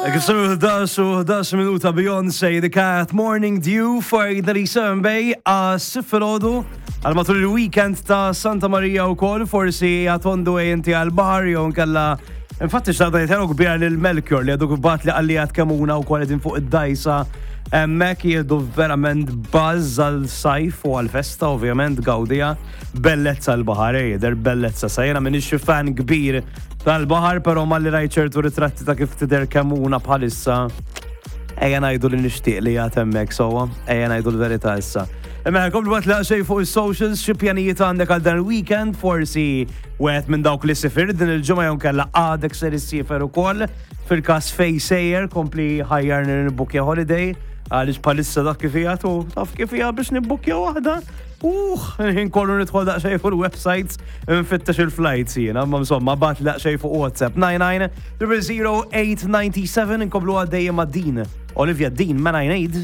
Kif semu 11 u 11 minuta Beyoncé, The Cat Morning Dew for 37 Bay għas filgħodu għal matul il-weekend ta' Santa Maria u kol forsi għatondu inti għal bahar jew nkella. Infatti xtaqt ngħid kbira lil Melchior li għadu bat li qalli għad kemuna u kol fuq id-dajsa hemmhekk jieħdu verament buzz għal sajf u għal festa ovvjament gawdija bellezza l-baħar, jidher bellezza. Sa jena minix xi fan kbir tal-baħar, pero malli rajt ċertu ritratti ta' kif tidher Kemmuna bħalissa, ejja ngħidu li nixtieq li jgħat hemmhekk sewwa, ejja ngħidu l-verità issa. Imma komplu għat xej fuq il-socials, xi pjanijiet għandek għal dan il-weekend, forsi wieħed minn dawk li sifirt din il-ġimgħa jew kella għadek ser issiefer ukoll. Fil-każ fej sejjer, kompli ħajjar nibbukja holiday, għaliex bħalissa dak kif hija tu taf kif hija biex nibbukja waħda. Ħin kollu nidħol daqsxejn fuq il-websites nfittex il-flights jiena, ma insomma bat daqsxejn fuq WhatsApp 99 00897 inkomplu għaddejjem ma' din. Olivia Dean, Man I Need.